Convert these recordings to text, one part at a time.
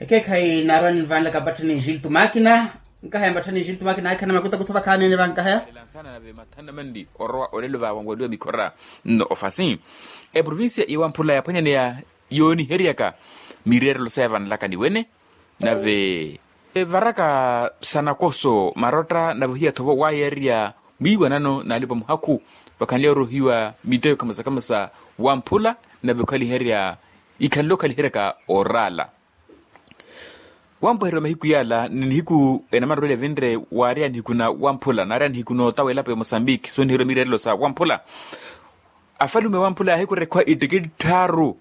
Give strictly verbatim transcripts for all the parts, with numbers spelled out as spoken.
Ekeekhayi naarwani vanlaka mpatthani jiltu makina. Nkahaya mpatthani jiltu makina akhana makuta kutho vakhaanene vankahaya. Elansana nave mathana manli orowa olelo vawanwaliwa mikhora nno ofasi. Eprovincia ya wamphula yaphwanyaneya yooniheryaka mireerelo saya vanlaka ni wene. Nave evaraka sa nakoso marotta nave ohiyathovo waayariya mwiiwanano n'alipa muhakhu. Vakhanle oruhiwa miteko khamasakhamasa wamphula nave okhaliherya ikhanle okhaliheryaka oraala. Wampweheriwa mahiku yaala ni nihiku enamarorweli evinre waarya nihiku na wamphula naarya nihiku nootawa elapo ya mosambiki sooniheriwa mireerelo sa wamphula. Afalume wamphula yaahikurekhwa ittikitthi tthaaru.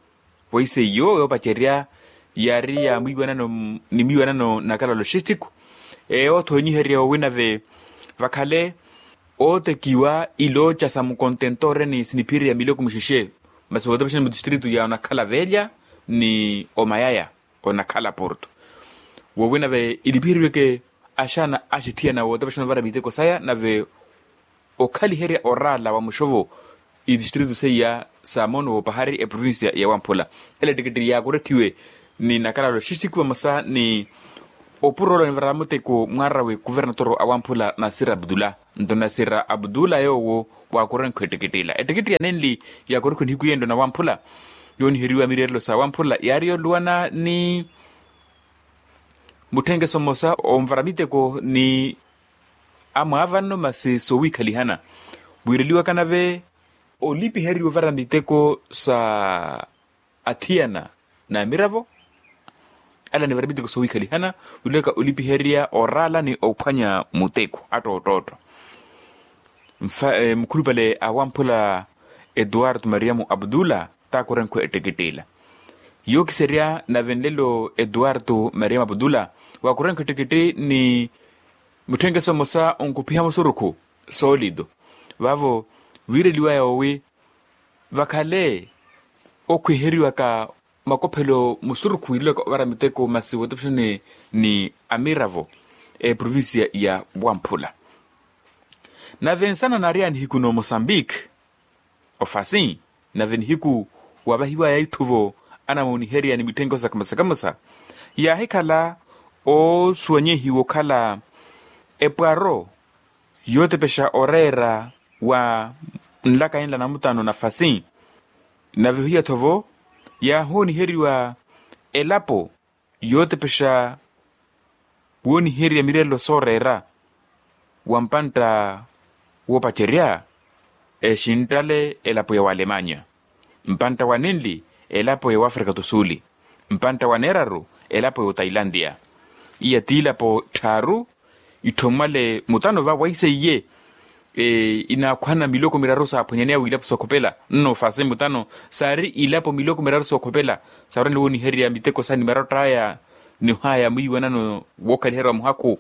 Poise iyo yoopacerya yaari ya mwiiwanano ni mwiiwanano nakala loxistiku. Eyo othoonyiherya owi nave vakhale ootekiwa ilooca sa mukontentore ni siniphirya miloko mixexe. Masi wootopexani mutistritu ya onakhala velya ni omayaya onakhala porto. Wowi nave ilipiheriweke axana axithiyana wootopexana ovara miteko saya nave okhaliherya oraala wa muxovo itistritu seiya sa moono woopahari eprovincia ya wamphula. Ela ettikitti yaakorekhiwe ni nakala loxistiku vamosa ni opuro ola onivara muteko mwaarawe kuvernatoro a wamphula nasira abdula. Nto nasira abdula yoowo waakorenkha ettikitti ila ettikitti ya nenli yaakorekhiwe nihiku yenlo na wamphula yooniheriwa mireerelo sa wamphula yaari yooluwana ni mutthenkeso mmosa onvara miteko ni amwaavanno masi soowiikhalihana. Wiireliwaka nave olipiheriwa ovara miteko sa athiyana n'amiravo ale anivara miteko soowiikhalihana. Wiireliwaka olipiherya oraala ni ophwanya muteko attoottootto. Mukhulupale a wamphula etuwartu mariamu abdula taakorenkho etteketteela. Yookiserya nave nlelo etuwartu mariamu abdula waakorenkho ettekette ni mutthenkeso mmosa onkuphiha musurukhu soolito. Vaavo wiireliwaya owi vakhale okhwiheriwaka makophelo musurukhu wiireliwaka ovara miteko masi wootopexani ni amiravo eprovincia ya wamphula. Nave nsana naari ya nihiku no mosambiki ofasi nave nihiku waavahiwaya itthu-vo anamooniherya ni mitthenkeso sa kamosa kamosa yaahikhala oosuwanyehiwa okhala epwaro yootepexa oreera wa nlaka enla namutano nafasi. Nave ohiya-tho-vo yaahooniheriwa elapo yootepexa wooniherya mireerelo sooreera wa mpantta woopacerya exinttale elapo ya walemanya mpantta wa nenli elapo ya wafrika tu suli mpantta wa neeraru elapo ya otailantiya. Iya ti ilapo tthaaru itthomwale mutano va waiseiye inaakhwana miloko miraru saaphwanyaneya wiilapo sookhopela nno fasi mutano saari ilapo miloko miraru sookhopela saarwanle wooniherya miteko sa ni marotta aya ni ohaya mwiiwanano wookhaliherya wa muhakhu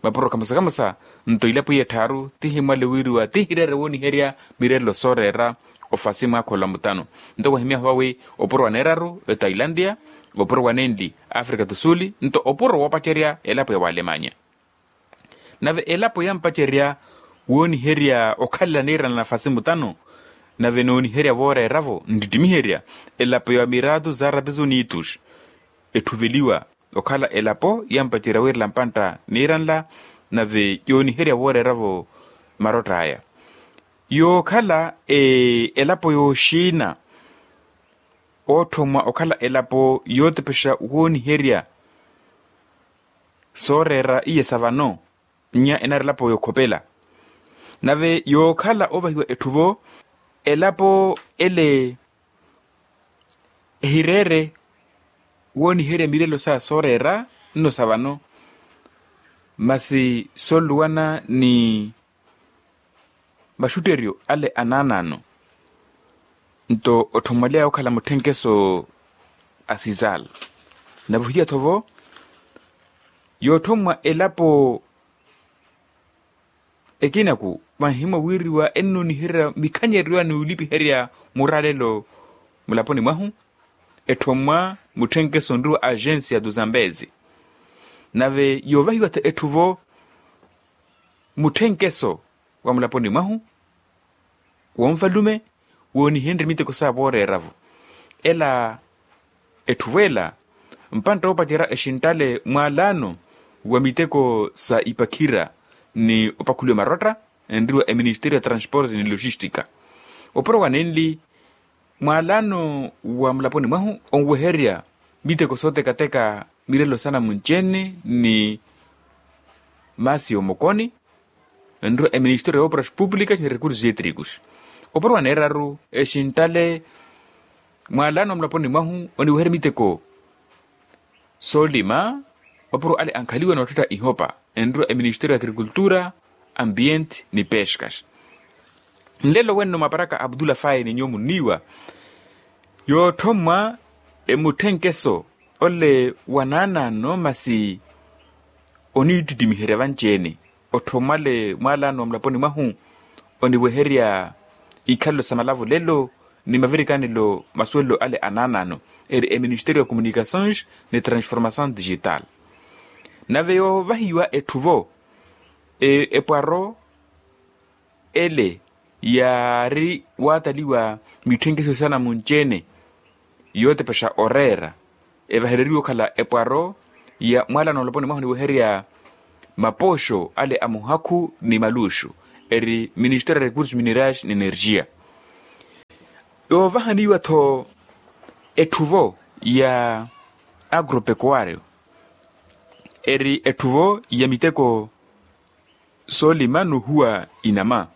mapuro kamosa kamosa. Nto ilapo iya tthaaru tihimwale wiiriwa tihireere wooniherya mireerelo sooreera ofasi mwaakhola mutano. Nto wahimyaha vawi opuro wa neeraru etailantiya opuro wa nenli afrika tu suli nto opuro woopacerya elapo ya walemanya. Nave elapo yampacerya wooniherya okhalela niiranla nafasi mutano nave nooniherya vooreera-vo nttittimiherya elapo ya miratu za rapisu nitus etthuveliwa okhala elapo yampacerya wiirela mpantta niiranla nave yooniherya vooreera-vo marotta aya yookhala elapo yooxiina ootthomwa okhala elapo yootepexa wooniherya sooreera iye sa vano nnya enaari elapo yookhopela. Nave yookhala oovahiwa etthu-vo elapo ele ehireere wooniherya mireelo saya sooreera nno sa vano masi sonluwana ni maxutteryo ale anaanaano. Nto otthomwaleya okhala mutthenkeso a sisal nave ohiyatho-vo yootthomwa elapo ekinaku vanhimwa wiiriwa ennooniherya mikhanyeryo a nuulipiherya muraalelo mulaponi mwahu. Etthomwa mutthenkeso onriwa agensia tu zambezi nave yoovahiwa-tho etthu-vo mutthenkeso wa mulaponi mwahu wonvalume woonihenrye miteko saya vooreera-vo ela etthu-vo ela mpantta woopacerya exinttale mwaalaano wa miteko sa ipakhira ni opakhuliwa marotta enriwa eministeriyo ya transporte ni logistika. Opuro wanenli mwaalaano wa mulaponi mwahu onweherya miteko sootekateka mirelo sanamunci-ene ni maasi y'omokoni enriwa eministeriyo ya opras públikas ni recursos étricos. Opuro waneeraru exinttale mwaalaano wa mulaponi mwahu oniweherya miteko soolima opuro ale ankhaliwa n'otthetta ihopa enriwa eministeriyo ya agrikultura, ambiente ni peskas. Nlelo wenno maparaka abdula faye ni nyuwo munniiwa yootthomwa emutthenkeso ole wa naanaano masi oniittittimiherya vanci-ene otthomwale mwaalaano wa mulaponi mwahu oniweherya ikhalelo sa malavulelo ni mavirikanelo masuwelelo ale anaanaano eri eministeriyo ya communicações ni transformação digital. Nave yoovahiwa etthu-vo epwaro ele yaari waataliwa mitthenkeso sanamunci-ene yootepexa oreera evahereriwe okhala epwaro ya mwaalaano mulaponi mwahu oniweherya mapooxo ale a muhakhu ni maluuxu eri ministeriyo ya recursos minerais ni energia. Yoovahaniwa-tho etthu-vo ya agropecuario eri etthu-vo ya miteko soolima n'uhuwa inama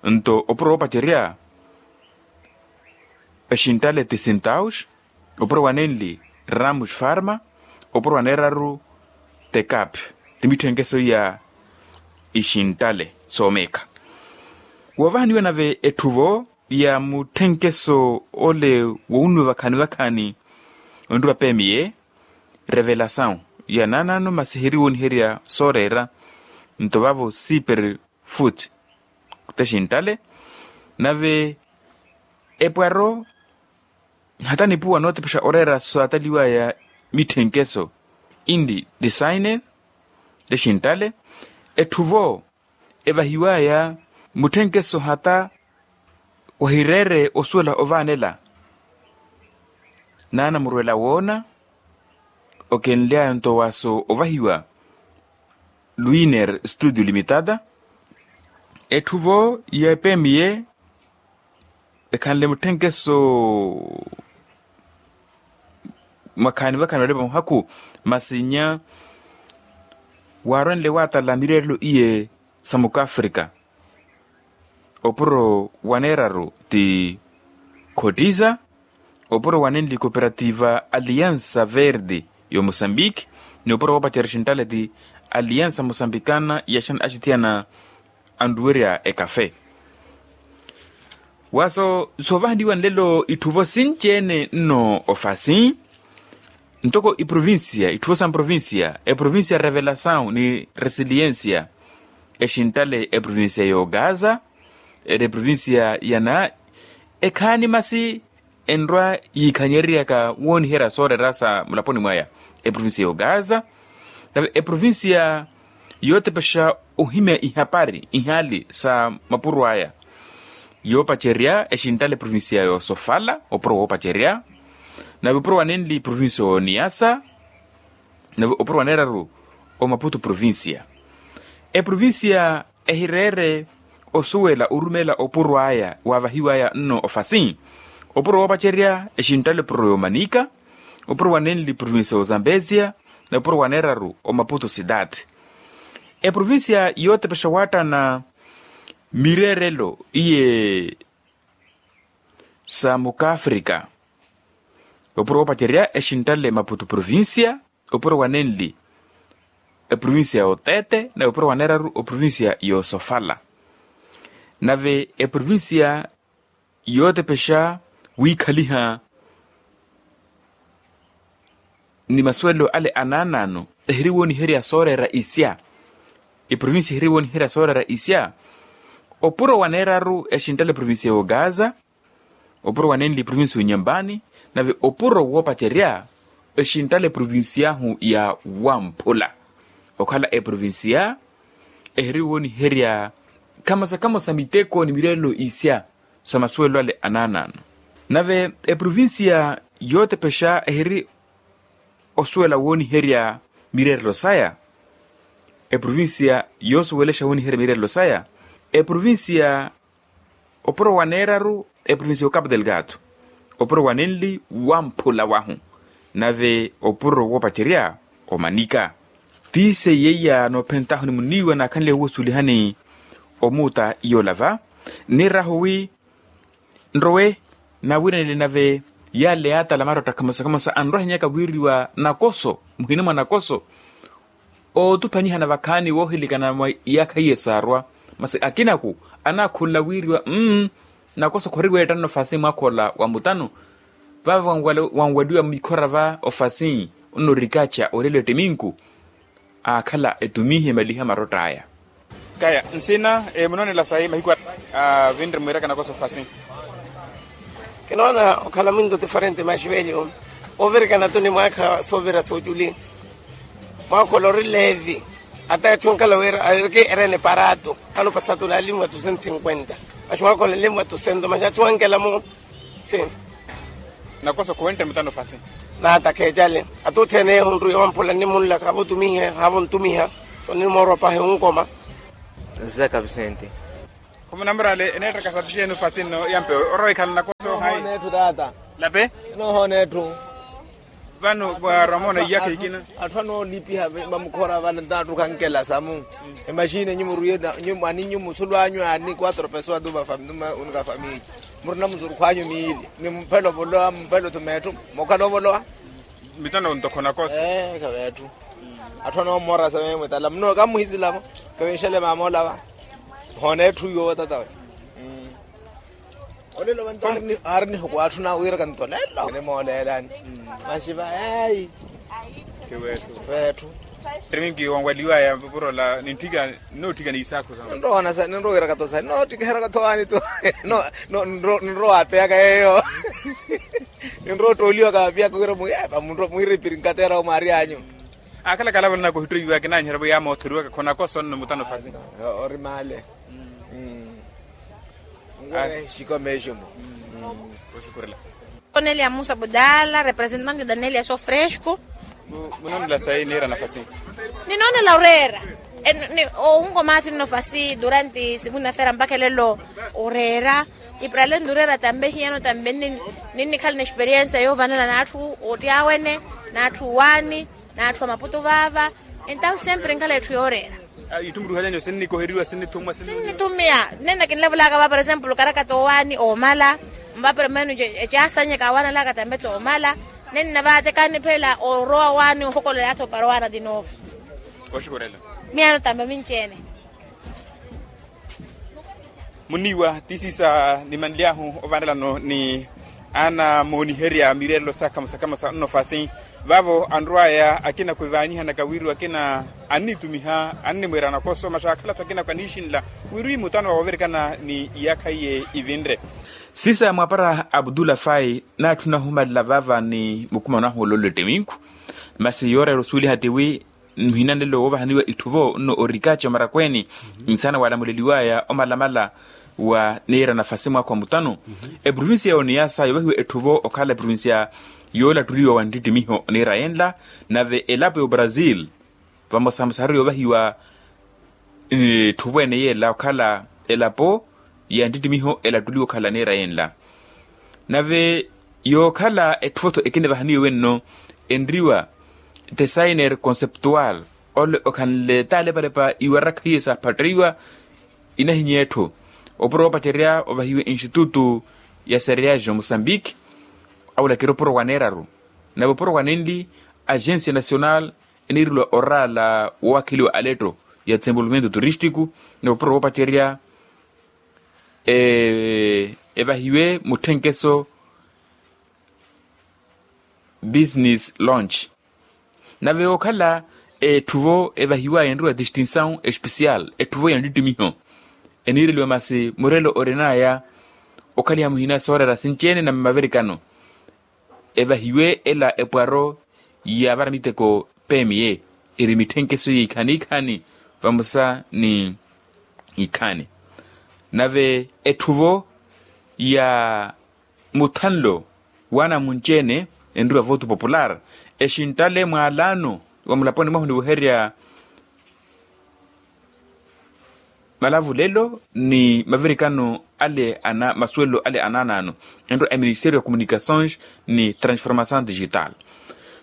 nto opuro woopacerya exinttale ti sintaus opuro wanenli ramus farma opuro waneeraru tekap ti mitthenkeso iya ixinttale soomeekha. Woovahaniwa nave etthu-vo ya mutthenkeso ole wowunnuwa vakhaani vakhaani onriwa pemiye revelasawu ya naanaano masi hiriwooniherya sooreera nto vaavo siper foot texinttale nave epwaro hata nipuwa nootepexa oreera saataliwaya mitthenkeso inli designer texinttale etthu-vo evahiwaya mutthenkeso hata wahireere osuwela ovaanela naana murwela woona okenly'aya nto waaso ovahiwa luiner studio limitada. Etthu-vo ya epemiye ekhanle mutthenkeso mwakhaani vakhaani olepa muhakhu masi nnya waarwenle waatala mireerelo iye sa mukafrika opuro waneeraru ti cotiza opuro wanenli cooperativa aliansa verde y'omosambiki ni opuro woopacerya exinttale ti aliansa mosambikana yaxana axithiyana anruwerya ekafe. Waaso soovahaniwa nlelo itthu-vo sinci-ene nno ofasi ntoko iprovincia itthu-vo sa mprovincia eprovincia revelasawu ni resiliência exinttale eprovincia y'ogaza eri eprovincia ya na ekhaani masi enrwa yiikhanyereryaka wooniherya sooreera sa mulaponi mwaya eprovincia y'ogaza nave eprovincia yootepexa ohimya ihapari ihaali sa mapuro aya yoopacerya exinttale eprovincia y'osofala opuro woopacerya nave opuro wanenli provincia y'oniyasa nave opuro waneeraru omaputu provincia eprovincia ehireere osuwela orumeela opuro aya waavahiwaya nno ofasi opuro woopacerya exinttale opuro y'omanika opuro wanenli provincia y'ozambezia nave opuro waneeraru omaputu sidati eprovincia yootepexa waattana mireerelo iye sa mukafrika opuro woopacerya exinttale maputu provincia opuro wanenli eprovincia y'otete nave opuro waneeraru oprovincia y'osofala nave eprovincia yootepexa wiikhaliha ni masuwelo ale anaanaano ehiriwooniherya sooreera isya eprovincia ehiriwooniherya sooreera isya opuro waneeraru exinttale eprovincia y'ogaza opuro wanenli eprovincia y'onyambani nave opuro woopacerya exinttale eprovincia ahu ya wamphula okhala eprovincia ehiriwooniherya khamosa khamosa miteko ni mireelo isya sa masuwelo ale anaanaano nave eprovincia yootepexa ehiri osuwela wooniherya mireerelo saya. Eprovincia yoosuwelexa wooniherya mireerelo saya. Eprovincia opuro wa neeraru eprovincia y'okapu delgado. Opuro wa nenli wamphula wahu. Nave opuro woopacerya omanika. Tiise yeiya noophentahu ni muniiwa naakhanle wuusulihani omuuta yoola va. Nirahu wi nrowe nawiranile nave yale yaatala marotta khamosa khamosa anrwahinyaka wiiriwa nakoso muhina mwa nakoso. Ootupanyihana vakhaani woohilikana mwa iyaakha iye saarwa. Masi akinaku anaakhulela wiiriwa mm nakoso khoriweettanna ofasi mwaakha ola wa mutano. Vava wanwaliwa mikhora va ofasi onnorikaca olelo ettiminku. Aakhala etumihe emaliha marotta aya. Kaya nsina munoonela sayi mahiku avinre mwiiraka nakoso ofasi. Kinoona okhala mwinto tifarente maxi velyo ovirikana tu ni mwaakha soovira sooculi. Mwaakha ola ori levi ata achu ankhala wira ariki erene parato. Ano pasatu lalimu wa tu cento cinquenta. Maxi mwaakha ola lemu wa tu cento maxi achu ankela mu si. Nakoso khuwentte mutano ofasi. Naata kheecale ata otthene ehunru yowamphula nnimunlaka havo otumihe havo ntumiha. So nimoorwa pahi onkoma. Nzaka visenti. Khumunamurale eneettaka sapi xeeni ofasi nno yampe orowa ekhala nakoso hayi. Noohoona etthu taata. Lape. Noohoona etthu. Vano mwaarwa moona iyakha ikina. Atthu anoolipiha vamukhora vale ntaattukha nkela samu. Emaxini enyu murwiye ani nyu musulu anyu ani quatro pessoas tu va famili. Murina muzurukhu anyu miili ni mphelo ovolowa mphelo thumeetthu. Mokhala ovolowa. Mitano ntokho nakoso. Khaveetthu. Atthu anoomorasa meemwetala muno kamuhizilavo. Kavinxele mamoolava. Hoona etthu yoowo tatawe. Olelo vanto aari nihuku atthu nawiiraka nto lelo nimooleelani. Maxi vayayi. Veetthu. Ttiminkhi wanwaliwaya vapuro ola nintthika. Nootthika niisaakhu sa ninrowiiraka to sa nootthikihera katho waani to. Ninrowa apeyaka yeeyo. Ninrowa ottooliwaka vapiyaka wira mwiiripiri nkateera omwaari anyu. Akhala kalavalana kuhittoiwaka naanyiherya vo yaamoothoriwaka khonakoso nno mutano ofasi. Ori maale. Nwehe xikomeexumo. Oxukurela. Cornelia musa budala representante danelias ofresco. Munoonela sayi niira nafasi. Ninoonela oreera. Owungo maathi nno fasi durante segunda feira mpakha elelo oreera. Iprale ndureera tambe hiyano tambe ninnikhala na experiensia yovanela n'atthu ootti awene n'atthu waani. N'atthu a maputu vaava. Entahu sempre nkhala etthu yooreera. Itthu muruhalyani sinnikoheriwa sinnithumwa sinnithumiya. Nenne kinlevulaka va por exemplo okarakata owaani oomala. Mva por menos ecaasanyeka awaanalaka tambe toomala. Nenne vaate kaaniphela orowa waani ohokolola yaatha opara owaana tinovo. Oxikorela. Miyano tambe minci-ene. Muniiwa tisiisa nimanly'ahu ovanelano ni anamooniherya mireerelo sa khamosa khamosa nnofasi. Vaavo anrw'aya akina kwivaanyihanaka wiriwa akina annitumiha annimwiira nakoso masi akhala-tho akina kaniixinla wiriwa imutano woovirikana ni iyaakha iye ivinre. Sisa mwapara abdula fai naatthuna ohumalela vaava ni mukumano ahu ololelo ettiminku. Masi yooreera osuweliha tiwi muhina nlelo woovahaniwa itthuvo nno orikaci omarakweeni. Nsaana waalamuleliwaya omalamala wa niira nafasi mwaakha wa mutano. Eprovincia ya oniyasa yoovahiwa etthuvo okhala eprovincia yoolattuliwa wa nttittimiho niira yenla. Nave elapo ya obrasil vamosamosa hari yoovahiwa etthuvo ene yeela okhala elapo ya nttittimiho elattuliwa okhala niira yenla. Nave yookhala etthuvo-tho ekinivahaniwe wenno enriwa designer conceptual ole okhanle taaleparepa iwarakha iye saaphattiwa. Inahinyeetthu opuro woopacerya ovahiwe institutu ya sereage omusambiki. Awulakira opuro wa neeraru nave opuro wa nenli agencia nacional eniireliwa oraala woowakheliwa aletto ya desenvolvimento turístico. Nave opuro woopacerya evahiwe mutthenkeso business launch. Nave yookhala etthuvo evahiwaya enriwa distinção especial etthuvo ya nttittimiho eniireliwa masi murelo orinaya okhaliha muhina sooreera sinci-ene na mmavirikano. Evahiwe ela epwaro yaavara miteko pemiye eri mitthenkeso ya ikhaani ikhaani vamosa ni ikhaani. Nave etthuvo ya muthanlo waana munci-ene enriwa voto popular exinttale mwaalaano wa mulaponi mwahu niweherya malavulelo ni mavirikano ale ana masuwelo ale anaanaano, entto a ministério ya communicações ni transformação digital.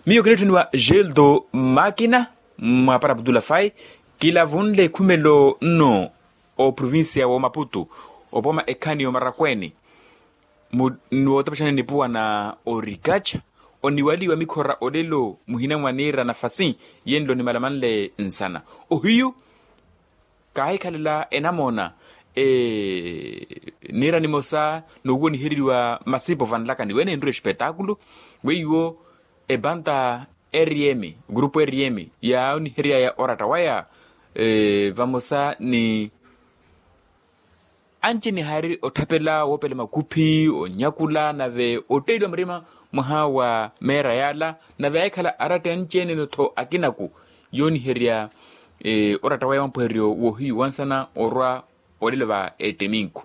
Miyo kinitthuniwa gildo makina mwaapara abdullah fai, kilavunle ekhumelo nno oprovincia wa omaputu, opooma ekhani ya omarakweeni, ni wootapexani nipuwa na orikaca oniwaliwa mikhora olelo muhina mwa niira nafasi yenlo nimalamanle nsana. Ohiyu kaahikhalela enamoona niira nimosa nowonihereriwa masipo vanlakani wene enrwa espetaakulu weiwo ebanta rm grupo rm yaawoniheryaya oratta waya vamosa ni anci nihaari otthapela woopela makuphi onyakula nave otteeliwa murima mwaha wa meera yaala nave aahikhala aratta anci-ene-no-tho akinaku yooniherya oratta waya wampuhereryo woohiyu wansana orwa olelo va etteminku.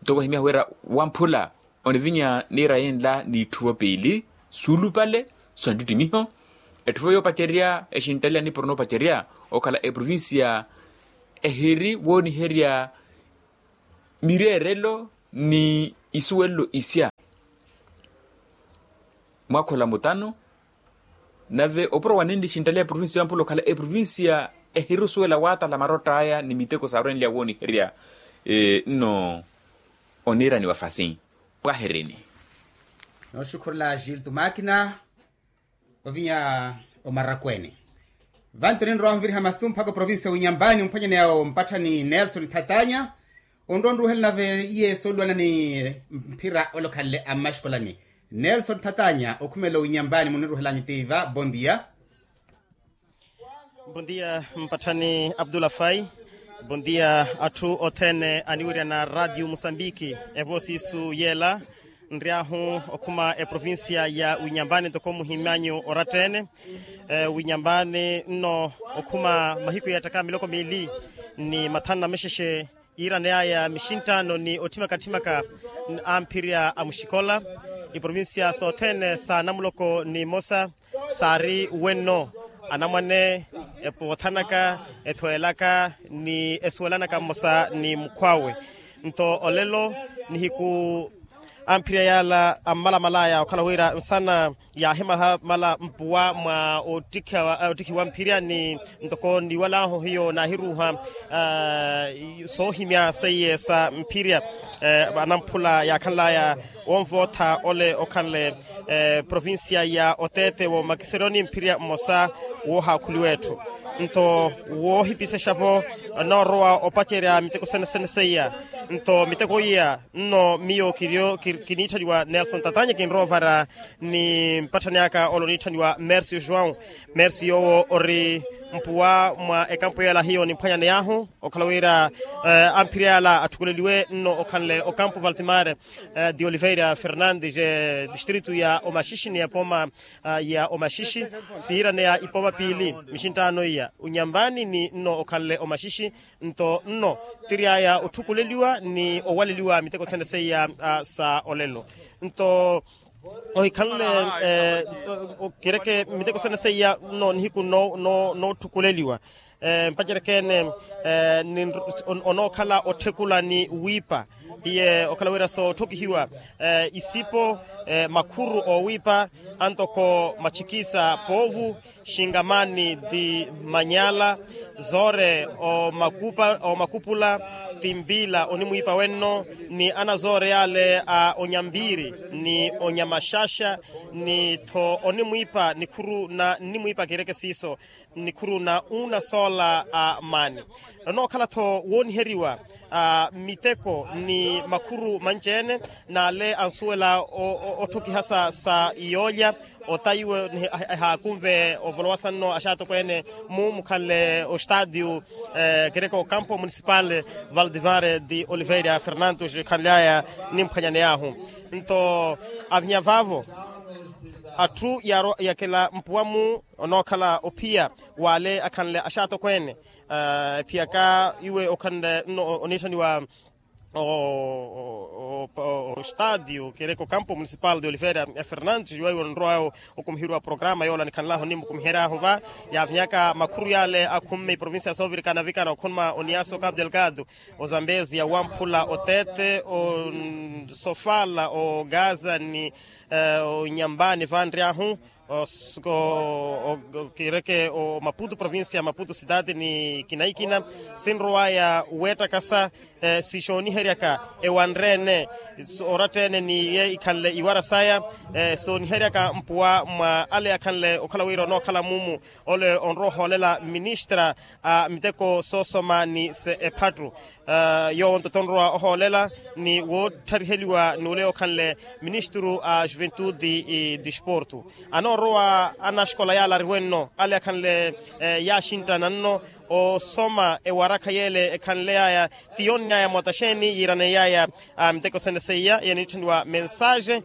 Nto wahimyaha wira wamphula onivinya niira yenla n'itthuvo piili suulupale sa nttittimiho. Etthuvo yoopacerya exinttalela nipuro noopacerya okhala eprovincia ehiri wooniherya mireerelo ni isuwelelo isya mwakhola mutano. Nave opuro wanenli exinttale ya provincia yamphula okhala eprovincia ehiri osuwela waatala marotta aya ni miteko saarwenlya wooniherya nno oniiraniwa fasi pwahirini. Nooxukhurela gilto makina ovinya omarakweeni. Vantu ninrowa onviriha masu mpakha oprovincia winyambani omphwanyani yawo mpatthani nelson thatanya. Onrowa onruhela nave iye sooluwana ni mphira ole okhanle ammaxikolani. Nelson thatanya okhumela owinyambani muniruhelanyu tiiva bondia. Bondia mpatthani abdullah fai. Bondia atthu othene aniwiryana radio musambiki evosi isu yela. Nryahu okhuma eprovincia ya winyambani ntoko muhimanyu oratta-ene. Winyambani nno okhuma mahiku yattaka miloko miili ni mathanu na mexexe iiraneyaya mixinttaano ni otthimaka-tthimaka amphirya a muxikola. Iprovincia sothene sa namuloko ni mmosa saari wenno anamwane epothanaka ethowelaka ni esuwelanaka mmosa ni mukhw'awe. Nto olelo nihiku amphirya yaala ammalamalaya okhala wira nsana yaahimalamala mpuwa mwa ottikhiwa mphirya ni ntoko niiwalahu hiyo naahiruuha soohimya seiye sa mphirya anamphula yaakhanlaya wonvootha ole okhanle provincia ya otete wo makiseroni mphirya mmosa woohaakhuliwa etthu. Nto woohipisexa-vo noorowa opacerya miteko sene sene seiya. Nto miteko iya nno miyo kiniitthaniwa nelson tatanya kinrowa ovara ni mpatthani aka ole oniitthaniwa mercio joão. Mercio yoowo ori mpuwa mwa ekampu yela hiyo nimphwanyaneyahu okhala wira amphirya yala atthukuleliwe nno okhanle okampu valtimar de oliveira fernandes distritu ya omaxixi ni epooma ya omaxixi. Siiraneya ipooma piili mixinttaano iya unyambani ni nno okhanle omaxixi. Nto nno tiryaya otthukuleliwa ni owaleliwa miteko sene seiya sa olelo. Nto ohikhanle kireke miteko sene seiya nno nihiku nootthukuleliwa mpacereke-ene onookhala otthekula ni wiipa. Iye okhala wira sootthokihiwa isipo makhuru oowiipa antoko matxikisa poovu xingamani ti manyala zoore omakupula ti mpiila onimwiipa wenno ni anazoore yaale a onyampiiri ni onyamaxaxa ni tho onimwiipa nikhuru na nnimwiipa kireke siiso nikhuru na unasoola a maani. Onookhala-tho wooniheriwa miteko ni makhuru manci-ene n'ale ansuwela otthokihasa sa yoolya ota iwe ehaakunve ovolowa sanno axaatokweene mu mukhanle ostadio kireke okampo municipal valdivare de oliveira fernandos khanly'aya nimphwanyaney'ahu. Nto avinya vaavo atthu yaarwa yakela mpuwa-mu onookhala ophiya w'ale akhanle axaatokweene ephiyaka iwe okhanle nno oniitthaniwa o Ostadio kereke okampo municipal de oliveira fernandes iwaiwo nrowa okumiherya wa programa yoola nikhanlahu nimukumiheryaahu va. Yaavinyaka makhuru yaale akhumme iprovincia soovirikana vikana okhuma oniaso capu delgado, ozambezia wamphula otete, osofala ogaza ni onyambani vanryaahu. Kereke omaputu provincia ya maputu sitati ni kinaikina sinrowaya weettakasa. Sixooniheryaka ewanreene oratta-ene ni ye ikhanle iwara saya. Sooniheryaka mpuwa mwa ale akhanle okhala wira onookhala mumu ole onrowa ohoolela ministra a miteko soosoma ni se ephattu. Yoowo nto tonrowa ohoolela ni woottariheliwa ni ole okhanle ministru a juventude e disportu. Anoorowa anaxikola yaala ariwenno ale akhanle yaaxinttana nno osoma ewarakha yeele ekhanleyaya ti yonnyaya moota xeeni yiiraneiyaya miteko sene seiya yeniitthaniwa mensage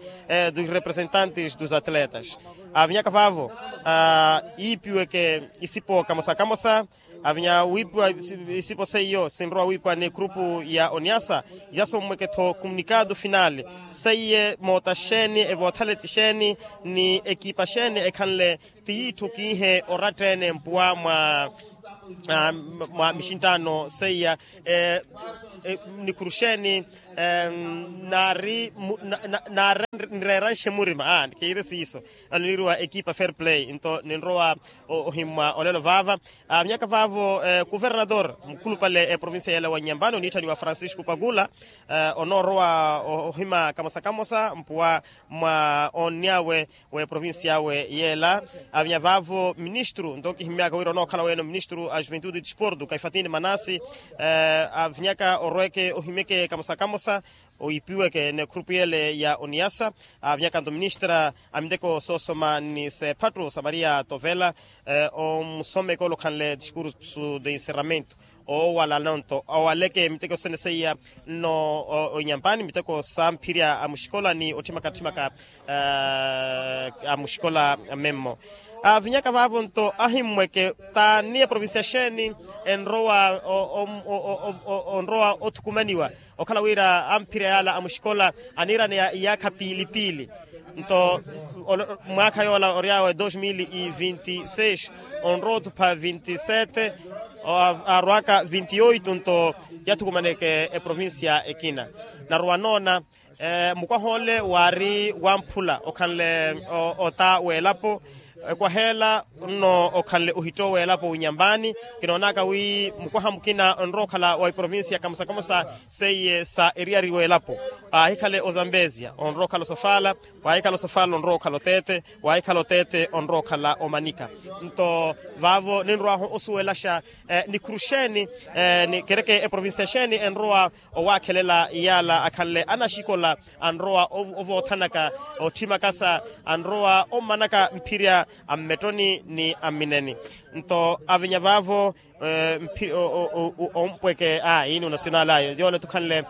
dos representantes dos atletas. Avinyaka vaavo iipiweke isipo kamosa kamosa. Avinya wiipiwa isipo seiyo sinrowa wiipiwa ni ekrupu ya oniasa yasommweke-tho comunicado final seiye moota xeeni evoothaleti xeeni ni ekipa xeeni ekhanle ti yiitthu kiihe oratta-ene mpuwa mwa mwa mixinttaano seiya nikhuru xeeni naari nreeranxe murima. Kiire siiso anoniiriwa ekipa fair play nto ninrowa ohimmwa olelo vaava. Avinyaka vaavo kuvernador mukhulupale eprovincia yeela wa nyambani oniitthaniwa francisco pakula onoorowa ohima kamosa kamosa mpuwa mwa onny'awe w'eprovincia awe yeela. Avinya vaavo ministru nto kihimmyaka wira onookhala weene ministru a juventude e disportu kaifatini manasi avinyaka orweke ohimyeke kamosa kamosa oipiweke n'ekhurupu yeele ya oniasa. Avinyaka nto ministra a miteko soosoma ni sephattu samaria tovela omusomeke ole okhanle discursu de encerramento oowala nonto awaleke miteko sene seiya nno onyampani miteko samphirya a muxikola ni otthimaka-tthimaka a muxikola memmo. Avinyaka vaavo nto ahimmweke t'ani eprovincia xeeni enrowa onrowa othukumaniwa okhala wira amphirya yaala a muxikola aniiraneya iyaakha piili piili nto mwaakha yoola ory'awe dos mil e vinti seis onrowa othupha vinti sete arwaka vinti oito nto yathukumaneke eprovincia ekina. Narowa noona mukwaha ole waari wamphula okhanle ota w'elapo ekwaha ela nno okhanle ohitto w'elapo winyambaani. Kinoonaka wi mukwaha mukina onrowa okhala wa iprovincia kamosa kamosa seiye sa eriyari w'elapo aahikhale ozambezia onrowa okhala osofala waahikhala osofala onrowa okhala oteete waahikhala oteete onrowa okhala omanika. Nto vaavo ninrw'ahu osuwelaxa nikhuru xeeni ni kereke eprovincia xeeni enrowa owaakhelela yaala akhanle anaxikola anrowa ovoothanaka otthimaka sa anrowa ommanaka mphirya a mmettoni ni a mmineni. Nto avinya vaavo ompweke a iini onasionali ayo yoole tukhanle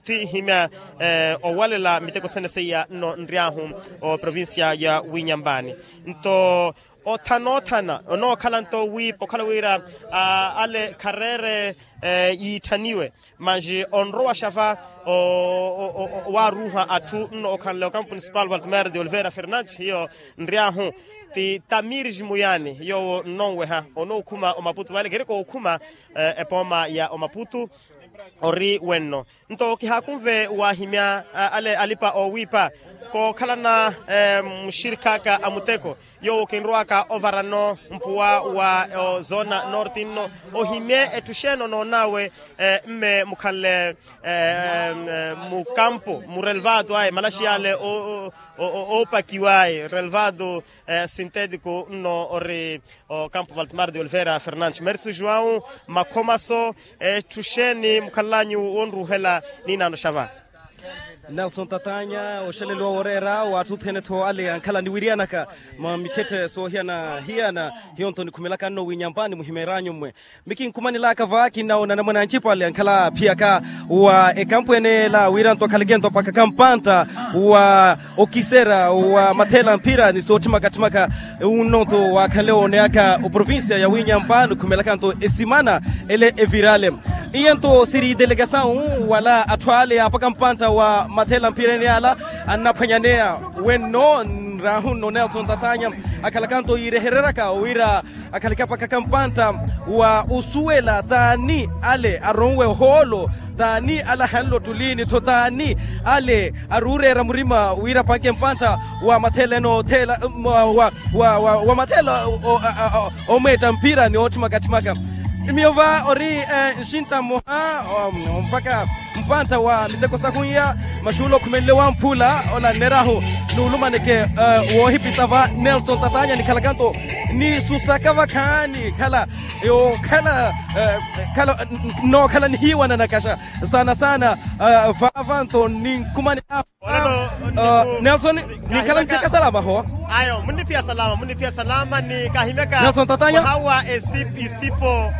tihimya owalela miteko sene seiya nno nry'ahu oprovincia ya winyambaani. Nto othana othana onookhala nto wiipa okhala wira ale khareere yiitthaniwe manji onrowaxa va owaaruuha atthu nno okhanle okampu municipal valtimero de oliveira fernandes hiyo nry'ahu ti tamiris muyani yoowo nnonweha onookhuma omaputu vale kereke ookhuma epooma ya omaputu ori wenno. Nto kihaakunve waahimya ale alipa oowiipa kookhalana muxirikhaaka a muteko yoowo kinrowaka ovarano mpuwa wa ozona norti nno ohimye etthu xeeni onoon'awe mme mukhanle mukampo murelvado aye malaxi yale oopakiw'aye relvado sintetico nno ori okampo valtimar de oliveira fernandes merso joão makhomaso etthu xeeni mukhanlanyu wonruuhela niinaano xa va. Nelson tatanya oxeleliwa woreera w'atthu othene-tho ale ankhala niwiriyanaka mwa mitthette soohiyana-hiyana hiyo-nto nikhumelaka nno winyambaani muhimeer'anyu mmwe. Mikinkhumanelaka va kinnawo nanamwane ancipale ankhala phiyaka wa ekampu ene ela wira-nto akhaleke-nto mpakha kampantta wa okisera wa matheela mphira ni sootthimaka-tthimaka unno-nto waakhanle wooneyaka oprovincia ya winyampa nikhumelaka-nto esimana ele evirale. Iyanto siri delegasawu wala atthu ale apaka mpantta wa mathela mphirani ala annaphwanyaneya wenno nrahu nno nelson tatanya akhalakanto yiirehereraka wira akhaleke apakaka mpantta wa osuwela t'ani ale aronwe ohoolo t'ani ale ahanle ottuli ni-tho t'ani ale aruureera murima wira apanke mpantta wa mathela eno othela wa mathela omweetta mpira ni ootthimaka-tthimaka. Miyo va ori nxintta mmoha mpakha mpantta wa miteko sahunya maxuula okhumenle wamphula ola nneryahu nuulumaneke woohipisa va nelson tatanya nikhalaka-nto nisusaka vakhaani khala yookhala khala nnookhala nihiiwana nakaxa saana saana vaavanto ninkumani nelson ninkhala niphiya kasalama ho. Ayo munniphiya salama munniphiya salama ni kahimyaka nelson tatanya mwaha wa esipo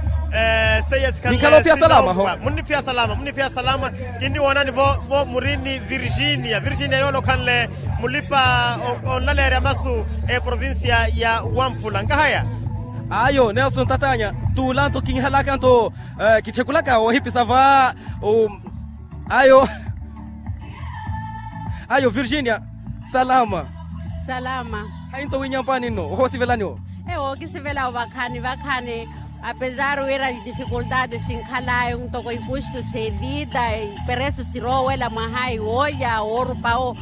seiya sikhanle sinkhala munniphiya salama. Kinniwoonani vo muri ni virginia virginia yoole okhanle mulipa onlaleerya masu eprovincia ya wamphula nkahaya. Ayo nelson tatanya tuulanto kinhalaka nto kitthikulaka woohipisa va ayo ayo virginia salama. Salama. Hainto winyampani nno ohoosivelani wo. Ewo kisivela vakhaani vakhaani apesar wira difikultati sinkhal'ayo ntoko ikustu sevita iperesu siroowela mwaha iwoolya woorupa wo.